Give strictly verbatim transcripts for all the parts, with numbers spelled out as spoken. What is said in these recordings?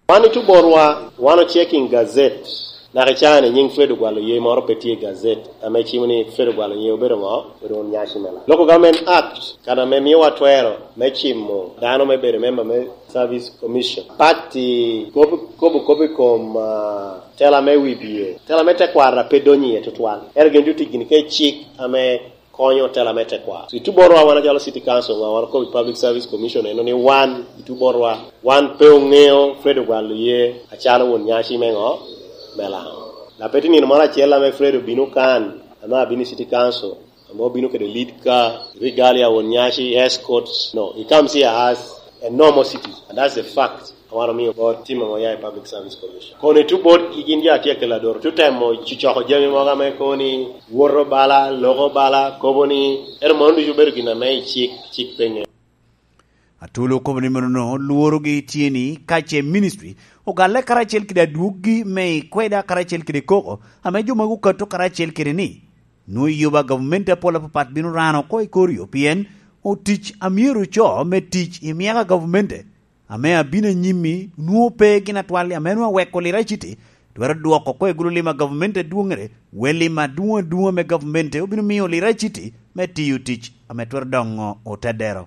Wan i Tuborwa, wan o checking gazette. Naka i caa-ni nyiŋ Fred Ogwal Oye moro pe tye i gazette ame cimo ni Fred Ogwal Oye obedo ŋo? Obedo won nyaci me Lango. Local Government Act, kan ame miowa twero me cimo dano me bedo member me Service Commission. Pati kobo, kobo, kobo i kom, ah, tela me wibie. Tela me tekwaro pe donyo iye tutwal. Ento gin tye tic gini ka i cik ame konyo tela me tekwaro. So, i Tuborwa wan acalo City Council, wan okobo i Public Service Commission eno ni wan i Tuborwa, wan pe oŋeo Fred Ogwal Oye acalo won nyaci me ŋo? Me Lango. Lapet i nino moro acel ame Fred obino kan, ame abino i City Council, ame obino kede lead car, regalia won nyaci, escorts. No, he comes here as a normal citizen, and that's the fact. Wan omio bot tim ame oya i Public Service Commission. Kono i tut botgi gin jo a tye kelo adoro, tut temo cocoko jami mogo ame kobo ni woto bala, loko bala, kobo ni, ento mano ducu obedo gin ame i cik, cik pe ŋeo. Atulu okobo ni monono lworogi tye ni ka ce ministry ogalle karacel kede adwoggi me i kweda karacel kede koko ame jo magi okato karacel kede ni, nwoŋo yuba gavumenti apol apapat bino rano oko i kor yo pien otic a myero oco me tic i myaka gavumenti ame abino anyim-mi nwoŋo pe gin atwal ame nwoŋo aweko Lira City twero dwoko oko i gulu lim a gavumenti adwoŋŋere, wel lim adwoŋ adwoŋ ame gavumenti obino miyo Lira City me tiyo tic ame twero doŋo otedero.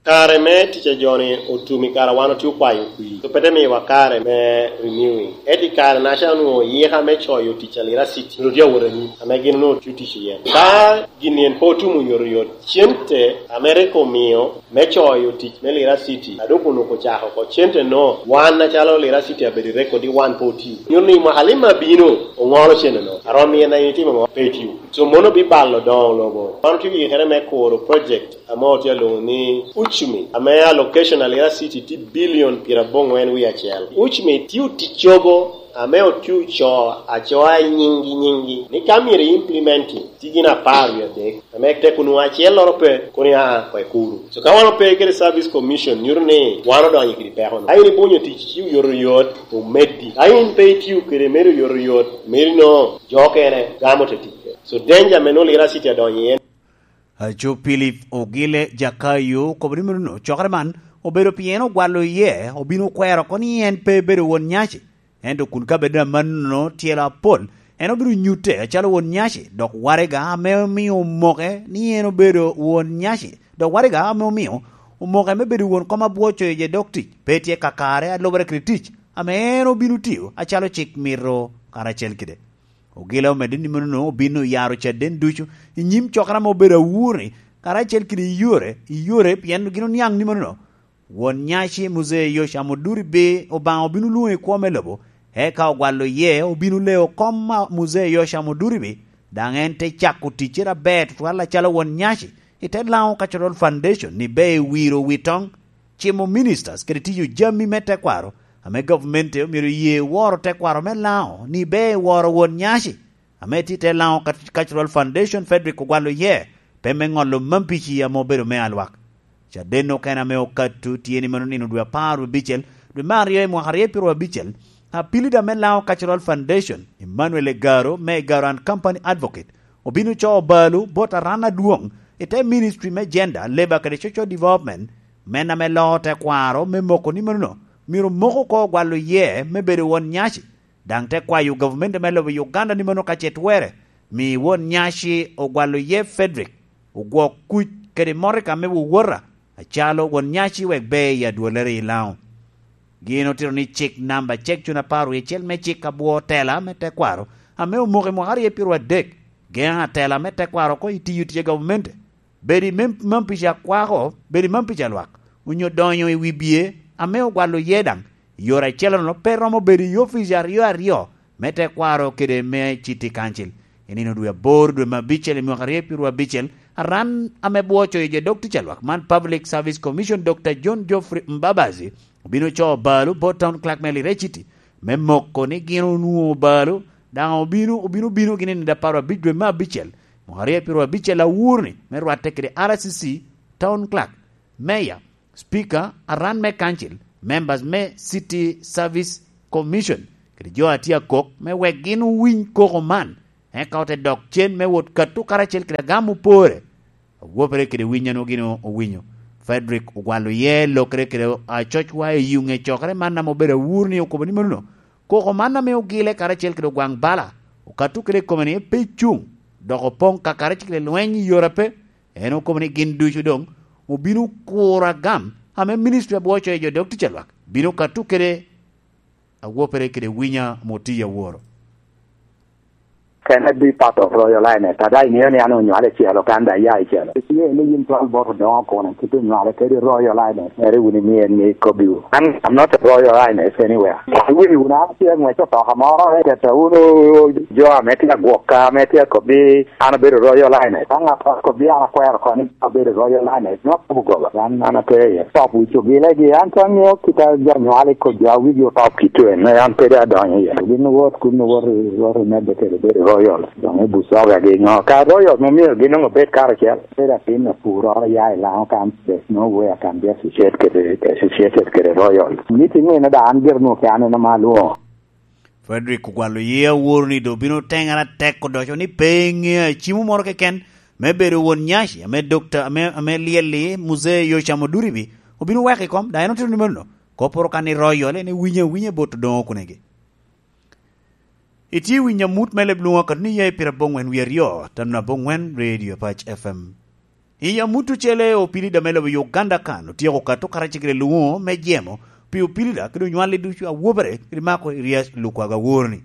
Kare me tic a jo-ni otum i kare a wan otye okwayo kwir, so pe te miyowa kare me renewing. Ento i kare-naca onwoŋo yika me coyo tic a Lira City myero tye awot anyim, ame gin onwoŋo tye otic iye. Ka gin en pe otum oyotoyot, cente ame rik omio me coyo tic me Lira City, a dok onwoŋo ocako oko, cente-no, wan acalo Lira City abedo i record ni wan pe otio. Nyuto ni i mwaka lim abino, oŋolo cente-no. Arom miye na in itimo ŋo? Pe itio. So, mono bibalo doŋo lobo. Wan otye yikere me kuro project ame otye alwoŋo ni Uchumi, ame allocation a Lira City tye billion pyeraboŋwen wie acel. Uchumi tye oticcogo ame otye oco acoa i nyiŋgi nyiŋgi, ni ka myero i implementing, tye gin apar wie adek, ame tek onwoŋo acelloro pe, kono ia oko i kulu. So ka wan ope kede Service Commission, nyuto ni wan odonyo kede peko-nu. Ka in ibunyo tic, ci oyotoyot, omeddi. Ka in pe itio kede medo oyotoyot, medo ino jo okene gamo te tic. So danger ame nwoŋo Lira City adonyo iye. Aco Philip Ogile Jakayo okobo ni mono cokere man obedo pien ogwalo iye, obino kwero oko ni en pe bedo won nyaci. Ento kun kabedo amannono tyelo apol, en obino nyutte acalo won nyaci, dok waraga ame omio omoke ni en obedo won nyaci, dok waraga ame omio omoke me bedo won kom abwoco i je dok tic, pe tye kakare alubere kede tic ame en obino tio acalo cik mito karacel kede. Ogila omedde ni mono obino oyaro caden ducu i nyim cokere ame obedo awurni, karacel kede i yore, i yore, pien gin oniaŋ ni mono won nyaci Muzee Yosam Oduribi Obaŋa obino lwoŋo i kwo me lobo, eka ogwalo iye obino leo kom a Muzee Yosam Oduribi, daŋ en te cako ticcere aber tutwal acalo won nyaci, i te Lango Cultural Foundation ni ber i wiro wi toŋ, cimo ministers kede tiyo jami me tekwaro ame gavumenti omyero ye woro tekwaro me Lango ni ber i woro won nyaci, ame tye i te Lango Cultural Foundation Frederick Ogwal Oye, pe me ŋolo mampici ame obedo me alwak. Caden okene ame okato tye ni mano nino dwe apar abicel, dwe me aryo i mwaka aryo pyeraryo abicel, apilida me Lango Cultural Foundation, Emmanuel Egaro me Egaro and Company Advocate, obino co balo bot aran adwoŋ i te Ministry me Gender, Labour kede Social Development, men ame loo tekwaro me moko ni mano myero moko oko Ogwal Oye me bedo won nyaci. Daŋ te kwayo gavumenti me lobo Uganda ni mano ka ce twere, mi won nyaci Ogwal Oye Frederick ogwok kuc kede motoka me wowota acalo won nyaci wek ber i adwolere i Lango. Gin otito ni cik namba cek cun apar wie acel me cik abwo tela me tekwaro ame omoko i mwaka aryo pyeraryo adek, geŋo atela me tekwaro oko i tiyo tic a gavumenti, bedo i mem-, mampici akwako, bedo i mampici alwak, onyo donyo i wi bye ame Ogwal Oye daŋ, i yore acel-lono pe romo bedo i opic aryo aryo me tekwaro kede me City Council. I nino dwe aboro dwe me abicel i mwaka aryo pyeraryo abicel, aran ame bwoco i je dok tic alwak man Public Service Commission Doctor John Geoffrey Mbabazi obino co balo bot Town Clerk me Lira City me moko ni gin onwoŋo balo, daŋ obino, obino bino gin i nino apar abic dwe me abicel, mwaka aryo pyeraryo abicel awurni me rwatte kede R C C, Town Clerk, Mayor, Speaker, aran me Council, members me City Service Commission, kede jo a tye akok me wek gin owiny koko man, eka ote dok cen me wot kato karacel kede agam opore, awopere kede winy a nwoŋo gin owinyo. Frederick ogwalo iye lokere kede acocwa i yuŋe cokere man ame obedo awur ni okobo ni mano koko man ame ogile karacel kede ogwaŋ bala okato kede i kome ni pe cuŋ, dok opoŋ kakare cik lweny i yore ape. En okobo ni gin ducu doŋ obino kuro agam ame ministri abwoco i jo dok tic alwak bino kato kede awopere kede winya ame otiye aworo. Can I be part of Royal Highness? Ada iŋeo ni an onywale celo kan da ya icelo. Iye ni yin twal bot odoŋo kono kit onywale kede Royal Highness. Ere wun imie ni kobbiwu. An, I'm not a Royal Highness anywhere. Wini wun an tye ngwec otoka moro, eteta wunu jo ame tye agwokka, ame tye akobbi an abedo Royal Highness. Ka ŋat akobbi an akwero kono ni abedo Royal Highness, nwa kobo goba. An, an atye iye. Top wic ogilegi, an pe aŋeo kit a jo nywal i kobbi a wigi otop kit en, an pe dong adonyo iye. Gin owot kun owot, owot omedde kede bedo Royal. Doŋ i Busoga gi ŋo? Ka Royal mo myero gin doŋ obed karacel. Bedo atin apuroro ya i Laŋo kan, there's no way I can be associated kede, associated kede Royal. Meeting eno da an gire nwoŋo ke an en ama alwoŋo. Frederick ogwalo iye aworo ni doŋ obino teŋere atek odoco ni pe eŋe acimo moro keken me bedo won nyaci ame dokta ame, ame lyel-li Muzee Yocam Oduribi obino weko i kom, dok en otito ni mano kopporo kan i Royal en ewinyo awinya bot odoŋo kunegi. Itye winyo amut me leb lwoŋo akatni ya i pira boŋwen wi aryo, tano aboŋwen Radio Apac F M. I amut ocele opilida me lobo Uganda kan otyeko kato karacel kede lwoŋo me jemo pi opilida kede onywalli ducu awobere kede mako i ryec lukwago awor-ni.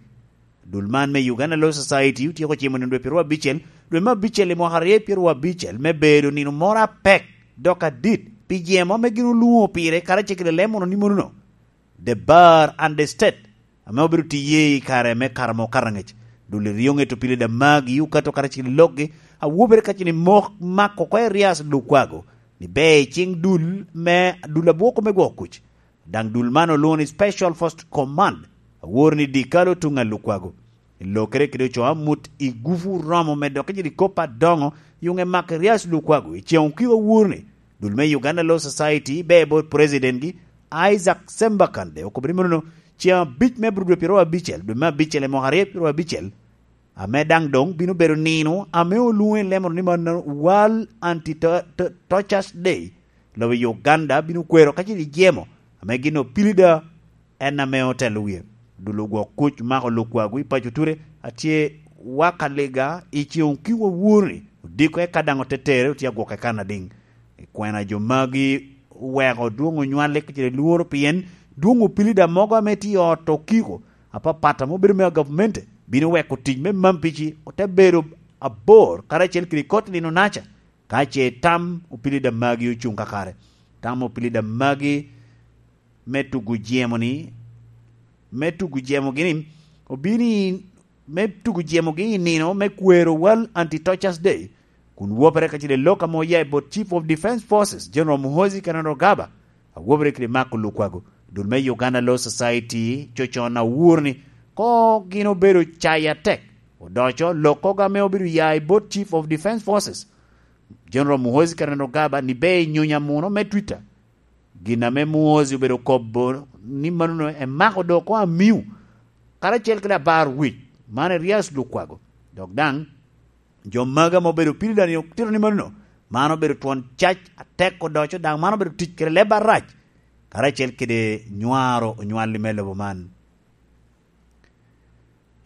Dul man me Uganda Law Society otyeko cimo nino dwe pyeraryo abicel, dwe me abicel i mwaka aryo pyeraryo abicel me bedo nino moro apek dok adit pi jemo ame gin olwoŋo pire karacel kede lemono ni monono. The Bar and the State ame obedo tiye i kare me kara mo karaŋec. Dul iryo ŋeto pile da magi okato karacel i lokgi awobere ka cini mok mako oko i Rias Lukwago ni ber i ciŋ dul me dul abwoko me gwoko kuc. Daŋ dul man olwoŋo ni Special Force Command aworo ni Dikalo tuŋ a Lukwago. Lokere kede ocoo amut i gufu romo me dokke jiri kop adoŋo yuŋe mak Rias Lukwago i ceŋ okiko awor ni dul me Uganda Law Society be bot President gi Isaac Sembakande okobo ni monono ceŋ abic me bro dwe pyeraryo abicel dwe me abicel i mwaka aryo pyeraryo abicel ame daŋ doŋ bino bedo nino ame olwoŋo i lemoro ni man World Anti Tortures Day. Lobo i Uganda bino kwero ka ce jemo ame gin opilida en ame otelo wie. Dul ogwok kuc mako lukwago i paco ture atye waka liga i ceŋ kiwa wurni odiko eka daŋ otetere otye agwoke kan adiŋ. Kwena jo magi oweko dwoŋ onywale kacel lworo pien dwoŋ opilida mogo ame tye i ot okiko apapat ame obedo me agavumenti bino weko tic me mampici ote bedo abor karacel kede kot nino naca ka ce tam opilida magi ocuŋ kakare. Tam opilida magi me tugo jemo ni me tugo jemo gini obini me tugo jemo gi i nino me kwero World Anti Tortures Day kun wopere kacel i lok ame oya i bot Chief of Defence Forces General Muhoozi Kainerugaba awopere kede Mark Lukwago dul me Uganda Law Society cocon awur ni ko gin obedo caya tek odoco lok koga ame obedo ya i bot Chief of Defence Forces General Muhoozi Kainerugaba ni ber i nyunya muno me Twitter. Gin ame Muozi obedo kobo ni manono emako dok oko amiu karacel ki labar wic man Erias Lukwago, dok daŋ jo magi ame obedo pili dani otito ni manono man obedo twon cac atek odoco daŋ man obedo tic kede leb arac karacel kede nywaro onywalli me lobo man.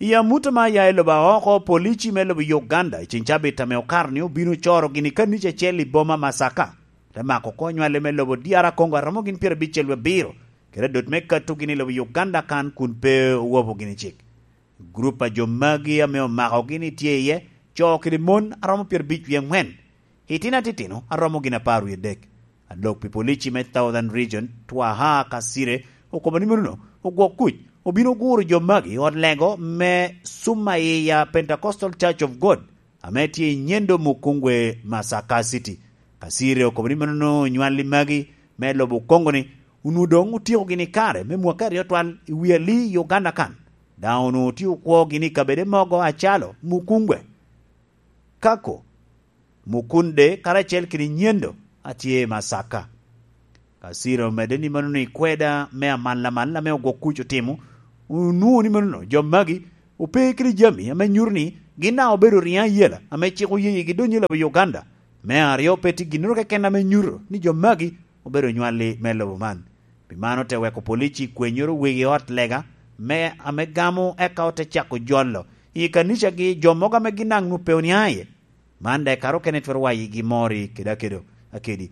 I amut ame aya i lobo aoko, polici me lobo Uganda i ceng cabit ame okato ni obino coro gini kanici acel i boma Masaka, te mako oko nywale me lobo D R Congo aromo gin pyerabicel wabiro, kede adot me kato gini i lobo Uganda kan kun pe owopo gini cik. Gurup a jo magi ame omako gini tye iye co kede mon aromo pyerabic wie angwen, Itino atitino aromo gin apar wie dek. Alok pi polici me Southern Region, Twaha Kasire, okobo ni menono ogwok kuc obino guro jo magi i ot lego me Sumaiya Pentecostal Church of God ame tye i Nyendo Mukungwe, Masaka City. Kasire okobo ni menono onywalli magi me lobo Kongo ni onwo doŋ otyeko gini kare me mwaka aryo twal i wi ali i Uganda kan. Daŋ onwo tye okwo gini i kabede mogo acalo Mukungwe, Kako, Mukunde karacel kede nyendo a tye i Masaka. Kasira omedde ni mano ni kweda me amal amal ame ogwok kuc otimo, onwoŋo ni manono jo magi ope kede jami ame nyuto ni gin daŋ obedo riŋo ayela ame cik oye yigi donyo i lobo Uganda Me aryo, pe tye ginnoro keken ame nyuto ni jo magi obedo onywalli me lobo man. Pi man ote weko polici kwenyoro wegi i ot lega me ame gamo, eka ote cako jolo i kanicagi jo mogo ame gin daŋ nwoŋo pe onio iye. Man daŋ i kare okene twero wayigi mori kede akedo, akedi.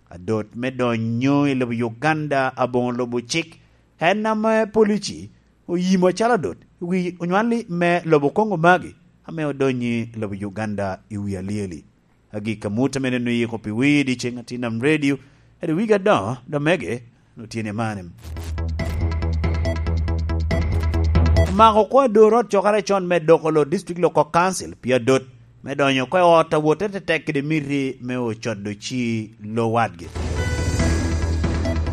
Adot me donyo i lobo Uganda aboŋo lubo cik, en ame polici oyimo acalo adot i wi onywalli me lobo Congo magi ame odonyo i lobo Uganda i wi alyeli. Agik amut ame neno yiko pi wi dyeceŋ atin nam redio, edi wigi adoŋo, domege, otyen i mani. Omako kwo ador ot cokere con me doko lo District Local Council pi adot me donyo oko i ot a wotte tetek kede miti me ocodo ci lo wadgi.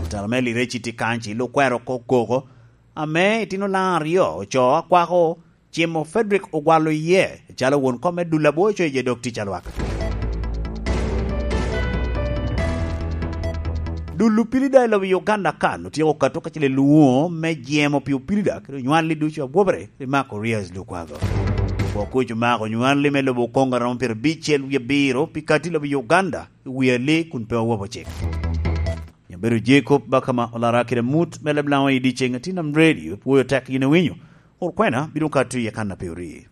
Otelo me Lireci tye kan ci lo kwero oko koko, ame itino laŋ aryo ocoo akwako cimo Frederick Ogwalo iye, calo won kom me dul abwoco i je dok tic a lwak. Dul opilida i lobo Uganda kan otyeko kato kacel i lwoŋo me jemo pi opilida kede onywalli ducu a gwobere pi mako Rias Lukwago. Boko kuc omako onywalli me lobo Congo a romo pyerabicel wie abiro pi kati lobo Uganda i wi ali kun pe owobo cik. Nyabedo Jacob Bakama olara kede amut me leb Laŋo i dyeceŋ atin nam redio, pwoyo tek yin iwinyo. Kur kwena bino kato iye kan a pe ori.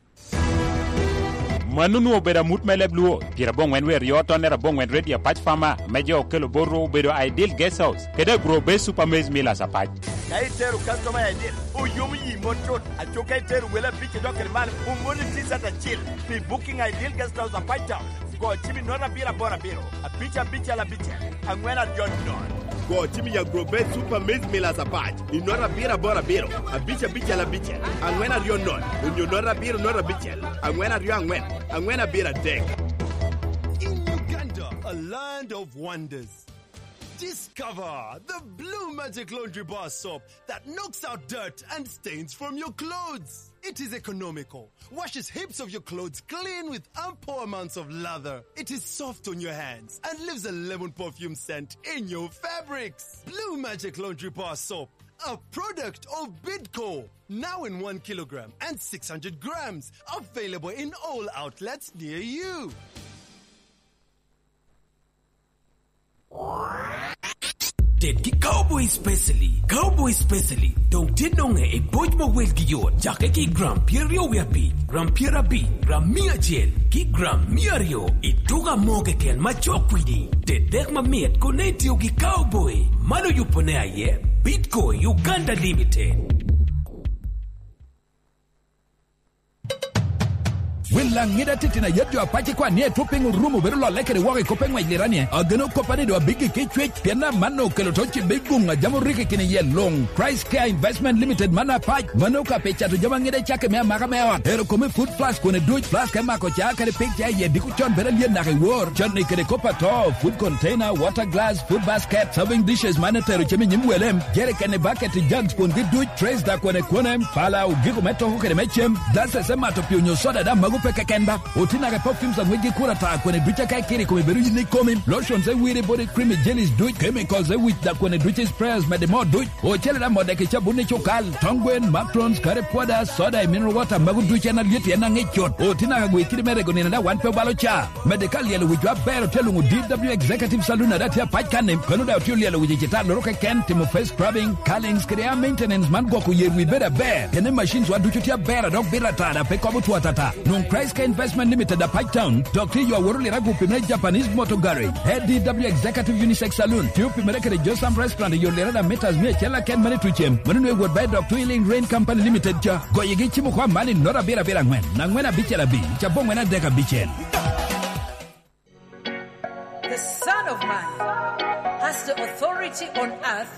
Mano onwoŋo obedo amut me leb Luo, pyerabongwen wie aryo tonnere abongwen redio apac Farmer, me jo okelo bot ru obedo Ideal Guest House, kede Agro Base Super Maize Millers apac. Ka itero customer i Ideal, oyomo yi mot cut, aco ka itero wele abic idok kede malo, omoni T-shirt acil pi booking Ideal Guest House apac Town. Go cim i nota abiro aboro abiro, abic abicel abicel, aŋwen aryo nono. Go cim i Agrobet Super Maize Millers apac i nota abiro aboro abiro, abic abicel abicel, aŋwen aryo nono, onyo nota abiro nota abicel, aŋwen aryo aŋwen, aŋwen abiro adek. In Uganda, a land of wonders, discover the Blue Magic Laundry Bar Soap that knocks out dirt and stains from your clothes. It is economical, washes heaps of your clothes clean with ample amounts of lather. It is soft on your hands and leaves a lemon perfume scent in your fabrics. Blue Magic Laundry Bar Soap, a product of Bidco, now in one kilogram and six hundred grams, available in all outlets near you. Ted ki Cowboy Specially. Cowboy Specially doŋ tye noŋe i boc ma welgi yot, cakke ki i gram pyeraryo wie abic, gram pyerabic, gram mia acel, ki gram mia aryo i tuko amo keken ma cok kwidi. Ted dek mamit kun itio ki Cowboy. Man oyubone aye Bidco Uganda Limited. Wel Laŋet atitino a yet jo apac ikwan ni Etwopiny orumo bedo lolle kede woko i kop me ŋwec liranie. Ageno koppa ni doŋ abiggi ki cwec, pien amanno okelo to cibbe i guŋ a jami orikki kine iye luŋ. Christ Care Investment Limited man apac, mano ka pi cato jami aŋet acakki me amaka me ot. Ero kome food flask kone duc, flask me mako ca kede pik ca iye diko con bedo alyet naka i wor. Con ni kede kop ato, food container, water glass, food basket, serving dishes man etero cem i nyim wele, jerikeni, baketi, jugs kwongi duc, trays da kwene kwene, pala, ogiko me toko kede me cem, glasses me mato pii onyo soda da mago pe keken ba. Oti naka i perfumes a ŋwecgi kur ata kwene duc aka ikiri i kome bedo yin ikomi, lotions e wiri body cream i jellies duc, chemicals e wic da kwene duc i sprayers mede moo duc, ocele da modeki cabun i cukal, tong gwen, macrons, curry powder, soda i mineral water mago duc en alyet en aŋic cut. Oti naka gwe kidi me rego nino da wan pe obalo ca. Mede ka lyelo wic wa ber otye luŋo D W Executive Saloon a daŋ tye apac kan-ni, kono daŋ otye olyelo wic i citalloro keken, timo face scrubbing, curlings kede hair maintenance man gwoko yer wi bedo aber. Kene machines wa ducu tye aber a dok bito ata daŋ pe kobo two atata. Nwoŋ Christ Care Investment Limited apac town, dok tye yo awot oliro agupi me Japanese Motor Garage, A D W Executive Unisex Saloon, tye opimere kede Josam Restaurant i yo liro daŋ meters mia acel aken mani tucem, mano nwe wot ba i dok Twilling Rain Company Limited ca. Goyigi cimo kwa mani nota abiro abiro aŋwen, aŋwen abicel abic, cabo ŋwen adek abicel. The Son of Man has the authority on earth